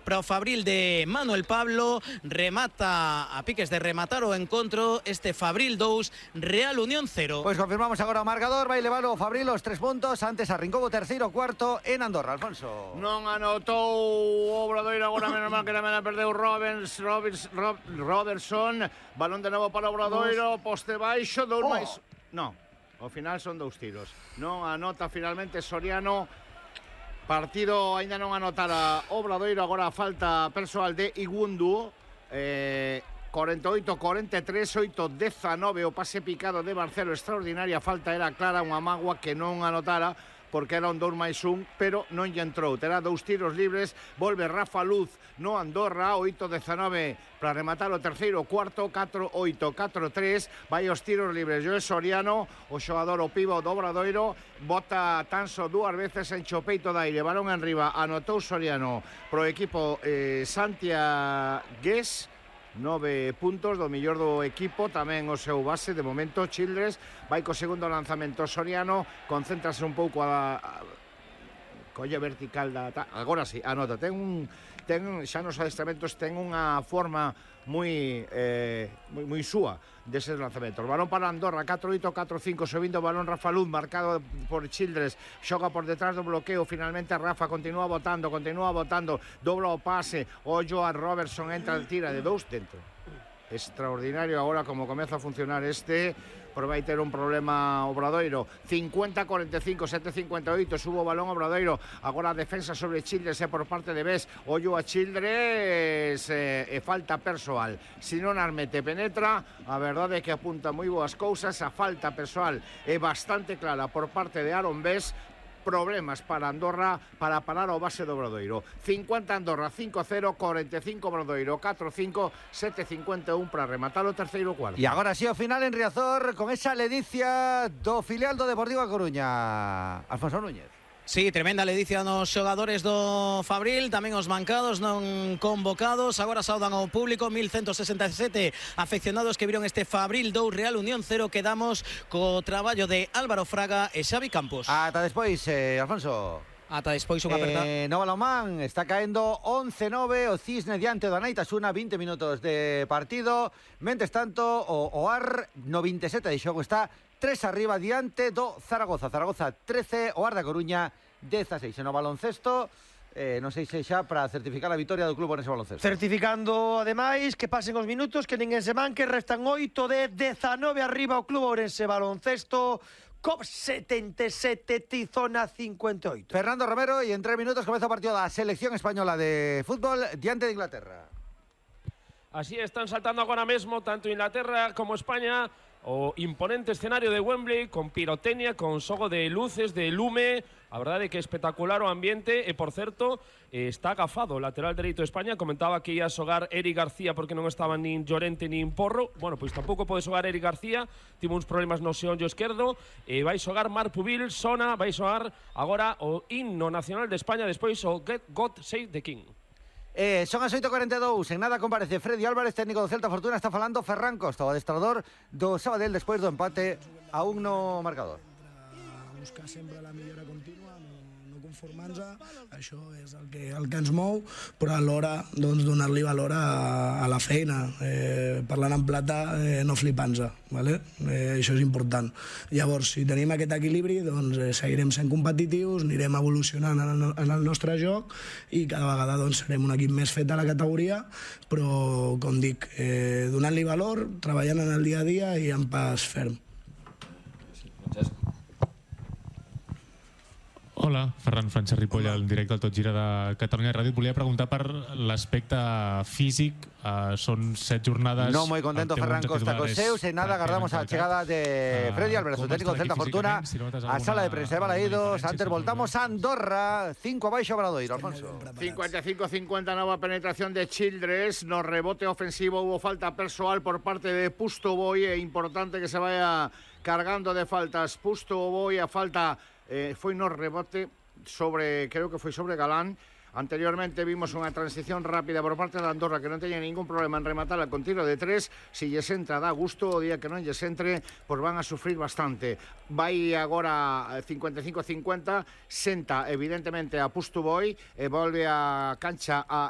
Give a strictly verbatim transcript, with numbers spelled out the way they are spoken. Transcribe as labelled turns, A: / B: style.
A: para o Fabril de Manuel Pablo. Remata a piques de rematar o encontro este Fabril dous, Real Unión cero.
B: Pois confirmamos agora o marcador. Vai levar o Fabril os tres puntos. Antes arrincou o terceiro cuarto en Andorra. Alfonso.
C: Non anotou o Obradoiro, agora menos mal que tamén perdeu Roberts, Roberts, Rob, Robertson. Balón de novo para o Obradoiro, poste baixo, dous oh. máis. Non, ao final son dous tiros. Non anota finalmente Soriano. Partido aínda non anotara Obradoiro, agora falta persoal de Igundu. Eh, cuarenta y ocho cuarenta y tres, oito diecinueve, o pase picado de Marcelo, extraordinaria falta, era clara, unha mágoa que non anotara porque era un dous máis un, pero non lle entrou. Terá dous tiros libres, volve Rafa Luz no Andorra, oito diecinueve para rematar o terceiro cuarto, catro oito, catro tres, vai os tiros libres. Joe Soriano, o xogador o pivo do Obradoiro, bota tan só dúas veces en chopeito de aire, balón en riba, anotou Soriano pro equipo eh, santiagués, nove puntos do mellor do equipo, tamén o seu base de momento Childress, vai co segundo lanzamento Soriano, concéntrase un pouco a, a colla vertical da, agora sí, anota, ten un ten xa nos adestramentos ten unha forma moi eh, moi, moi súa deses lanzamentos. Balón para Andorra, catro oito, catro cinco, subindo o balón Rafa Luz, marcado por Childress, xoga por detrás do bloqueo, finalmente Rafa continúa botando, continúa botando, dobla o pase, ollo a Robertson, entra, tira de dous dentro. Extraordinario agora como comeza a funcionar este, pero vai ter un problema Obradoiro. Cincuenta cuarenta y cinco, sete cincuenta y oito, subo o balón Obradoiro, agora a defensa sobre Childress é por parte de Bes, ollo a Childress, e, e falta persoal. Se non Armete penetra, a verdade é que apunta moi boas cousas, a falta persoal é bastante clara por parte de Aaron Bes. Problemas para Andorra para parar o base do Obradoiro. cincuenta Andorra, cinco cero, cuarenta y cinco Obradoiro, catro cinco, sete cincuenta y uno para rematar o terceiro cuarto.
B: E agora si o final en Riazor con esa ledicia do filial do Deportivo A Coruña. Alfonso Núñez.
A: Sí, tremenda ledicia nos xogadores do Fabril, tamén os mancados non convocados. Agora saudan ao público, mil ciento sesenta y siete afeccionados que viron este Fabril dous, Real Unión cero. Quedamos co traballo de Álvaro Fraga e Xavi Campos.
B: Ata despois, eh, Alfonso.
A: Ata despois unha aperta.
B: Eh, no balonmán está caendo once nove o Cisne diante do Anaitasuna, vinte minutos de partido. Mentres tanto, o Oar no vinte e sete de xogo está tres arriba diante do Zaragoza. Zaragoza trece, Oar da Coruña dezasseis. No baloncesto, eh, non sei se xa para certificar a vitoria do club nese baloncesto.
D: Certificando, ademais, que pasen os minutos, que ninguén se manque, restan oito de dezanove arriba o club Ourense Baloncesto. C O P setenta y siete, Tizona cincuenta y ocho.
B: Fernando Romero, y en tres minutos comeza o partido da selección española de fútbol diante de Inglaterra.
E: Así están saltando agora mesmo tanto Inglaterra como España o imponente escenario de Wembley con pirotecnia, con xogo de luces, de lume. A verdade é que é espectacular o ambiente e, por certo, está agafado o lateral dereito de España. Comentaba que ia xogar Eric García porque non estaba nin Llorente nin Porro. Bueno, pois tampouco pode xogar Eric García, tivo uns problemas no xeonllo esquerdo. E vai xogar Marc Pubil, sona, vai xogar agora o himno nacional de España, despois o Get God Save the King.
B: Eh, son as oito e cuarenta e dous, en nada comparece Freddy Álvarez, técnico do Celta Fortuna. Está falando Ferran Costa, o adestrador do Sabadell despois do empate a un no marcador.
F: Buscar sempre la millora contínua, no, no conformar-nos, això és el que, el que ens mou, però alhora doncs, donar-li valor a, a la feina, eh, parlant en plata, eh, no flipant-nos, ¿vale? eh, això és important. Llavors, si tenim aquest equilibri, doncs eh, seguirem sent competitius, anirem evolucionant en el, en el nostre joc i cada vegada doncs, serem un equip més fet a la categoria, però, com dic, eh, donant-li valor, treballant en el dia a dia i en pas ferm.
G: Hola, Ferran Francesc Ripoll, en directe al Tot Gira de Catalunya Ràdio. Et volia preguntar per l'aspecte físic. Uh, son set jornadas.
B: No muy contento Ferran Costa con Seus. En nada, aguardamos a la llegada de Freddy Álvarez, su técnico Celta Fortuna, a sala de prensa de Balaídos. Antes voltamos a Andorra, cinco abaixo Obradoiro, Alfonso.
C: cincuenta y cinco cincuenta, nueva penetración de Childress. No rebote ofensivo, hubo falta personal por parte de Pustoboy. Es importante que se vaya cargando de faltas Pustoboy. A falta, eh, fue no rebote sobre, creo que fue sobre Galán. Anteriormente vimos unha transición rápida por parte de Andorra que non teña ningún problema en rematar con tiro de tres. Si lles entra dá gusto, o día que non lles entre pois van a sufrir bastante. Vai agora cincuenta y cinco cincuenta, senta evidentemente a Pustoboy e volve a cancha a